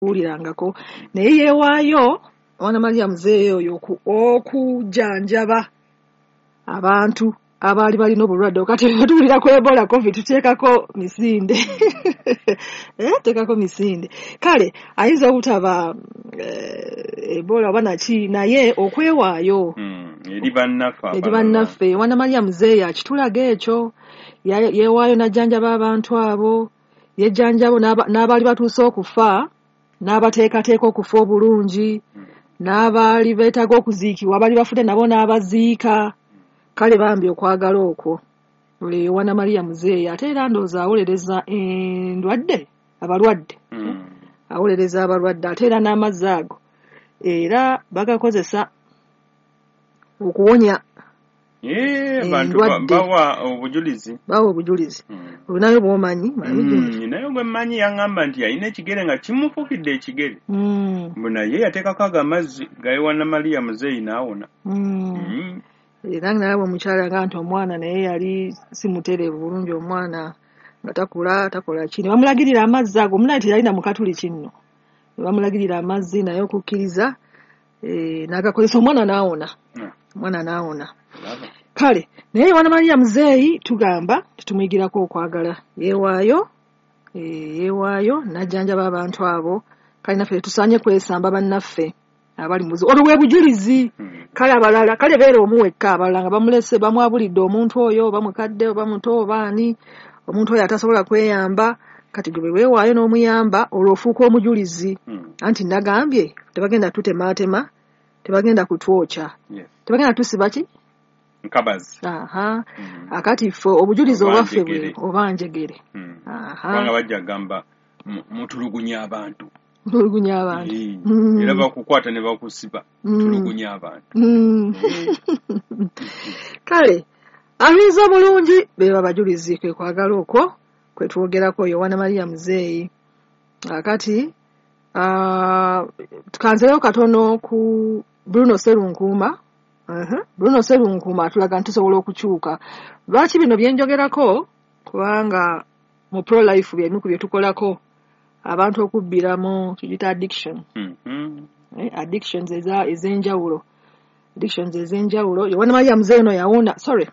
Kuwulirangako, naye yeewaayo Omwana Maria Muzeeyi oyo okujjanjaba abantu abaali balina obulwadde. Kati tuwulira ku Ebola, COVID, tuteekako misinde, teekako misinde. Kale ayinza obutaba Ebola oba naki, naye okwewaayo eri bannaffe. Eri bannaffe. Omwana Maria Muzeeyi akitulaga ekyo. Yeewaayo n'ajjanjaba abantu abo, yejjanjabo n'abaali batuuse okufa, n'abateekateeka okufa obulungi, n'abaali beetaaga okuziikibwa, abaali bafudde nabo n'abaziika. Kale bambi okwagala okwo Yowana Maria Muzeeyi. Ate era ndowooza awolereza endwadde, abalwadde. Awolereza abalwadde. Ate era n'amazzi ago era bagakozesa okuwonya Abantu endwadde. Bawa obujulizi. Bawa obujulizi. Olinayo bw'omanyi, mwami Junju? Naye gwe mmanyi yaŋŋamba nti yalina ekigere nga kimufuukidde ekigere, mbu naye yateekako ago amazzi ga Yowana Maria Muzeeyi n'awona. Era nalaba omukyala nga nti omwana naye yali si mutereevu bulungi, omwana nga takula, takola ki, ne bamulagirira amazzi ago. Omunaye teyalina mukatuliki nno, ne bamulagirira amazzi, naye okukkiriza n'agakozesa, omwana n'awona. Omwana n'awona. Olaba. Kale naye Yowana Maria Muzeeyi tugamba titumuyigirako okwagala. Yeewaayo, yeewaayo n'ajjanjaba abantu abo. Kale naffe tetusaanye kwesamba bannaffe abali mu buzibu. Olwo bwe bujulizi. Kale abalala, kale beera omu wekka, abalala nga bamulese, bamwabulidde omuntu oyo, oba mukadde oba muto oba ani, omuntu oyo atasobola kweyamba. Kati gwe bwe weewaayo n'omuyamba, olwo ofuuka omujulizi. Anti nagambye tebagenda tutemaatema, tebagenda kutwokya, tebagenda tusiba ki? Nkabazi. Aha. Akati ffe obujulizi Oba obwaffe bwe njegere. Oba njegere. Aha. Kubanga bajja kugamba mutulugunya abantu. Mutulugunya abantu. Era bakukwata ne bakusiba. Tulugunya abantu. Kale abiza bulungi be babajulizi, kwe kwagala okwo kwe twogerako, Yowana Maria Muzeeyi. Akati tukanzeeyo katono ku Bruno Serunkuuma. Bruno Serunkuuma atulaga nti tusobola okukyuka. Lwaki bino bye njogerako? Kubanga mu pro life byemu ku bye tukolako, abantu okubbiramu kigita addiction. Addictions ez'enjawulo. Addictions ez'enjawulo. Yowana Maria Muzeeyi ono yawona, sorry,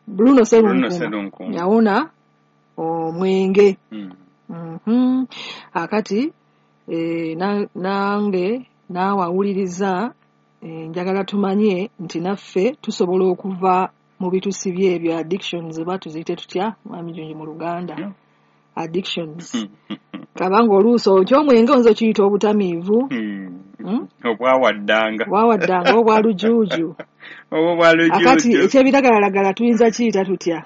Bruno Serunkuuma. Bruno Serunkuuma. Yawona omwenge. Akati nange naawe awuliriza, njagala tumanye nti naffe tusobola okuva mu bitusibye ebyo, addictions, oba tuziyite tutya, Mwami Junju, mu Luganda? Addictions. Kabanga oluusi okyomwenge oyinza okiyita obutamiivu. Obwawaddanga. Obwawaddanga, obwa lujuuju. Obwo bwa lujuuju. Akati ekyebiragalalagala tuyinza kiyita tutya?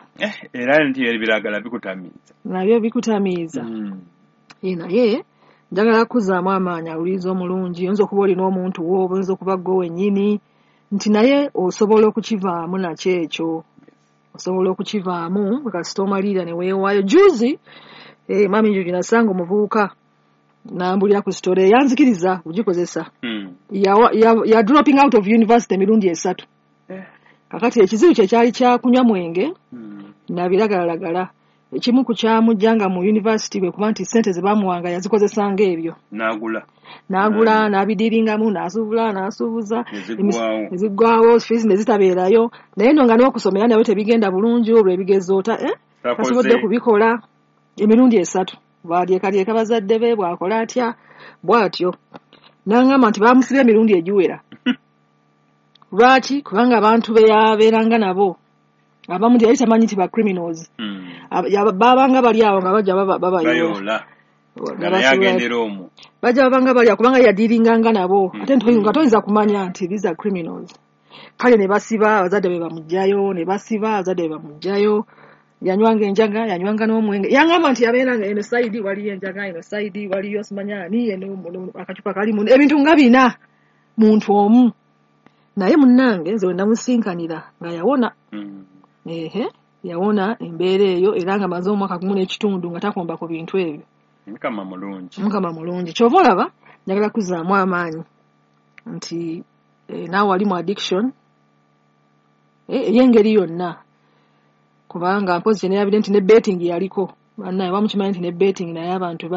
Era nti ebiragala bikutamiiza. Nabyo bikutamiiza. Naye njagala kuzzaamu amaanyi awuliriza omulungi. Oyinza okuba olina omuntu wo, oba oyinza okuba ggwe wennyini, nti naye osobola okukivaamu nakyo ekyo. Osobola okukivaamu kasita omalirira ne weewaayo. Juzi, Mwami Njuju, nasanga omuvubuka n'ambulira ku story yanzikiriza kugikozesa. Ya dropping out of university emirundi 3. Kakati ekizibu kye kyali kya kunywa mwenge na biragalalagala. Ekimu ku kyamuggyanga mu university kwe kuba nti ssente ze baamuwanga yazikozesanga ebyo. N'agula. N'agula, n'abidiringamu, n'asuubula, n'asuubuza. Ne ziggwaawo. Ne ziggwaawo, fees ne zitabeerayo. Naye nno nga n'okusomera nabyo tebigenda bulungi olw'ebigezo Takoze. tasobodde kubikola emirundi 3. Bw'alyekalyeka bazadde be, bw'akola atya, bw'atyo. N'aŋŋamba nti baamusibye emirundi egiwera. Lwaki? Kubanga abantu be yabeeranga nabo abamu teyali tamanyi nti ba criminals. Baabanga bali awo nga bajja babayoola. Bayoola. Nga Nga naye basuula- agendera omwo. Bajja babanga bali awo kubanga yadiringanga nabo. Ate nga toyinza kumanya nti these are criminals. Kale ne basiba abazadde be bamuggyayo, ne basiba abazadde be bamuggyayo. Yanywanga enjaga, yanywanga n'omwenge. Yangamba nti yabeeranga eno sayidi waliyo enjaga, eno sayidi waliyo simanya ani, eno akacupa kalimu ebintu nga bina muntu omu. Naye munnange nze we namusinkanira nga yawona. Ehe, yawona embeera eyo era nga amaze omwaka gumu n'ekitundu nga takomba ku bintu ebyo. Mukama mulungi. Mukama mulungi. Ky'ova olaba njagala kuzzaamu amaanyi nti naawe wali mu addiction ey'engeri yonna. Kubanga mpozi kye neerabidde nti ne betting yaliko. Bannaye bamukimanyi nti ne betting naye abantu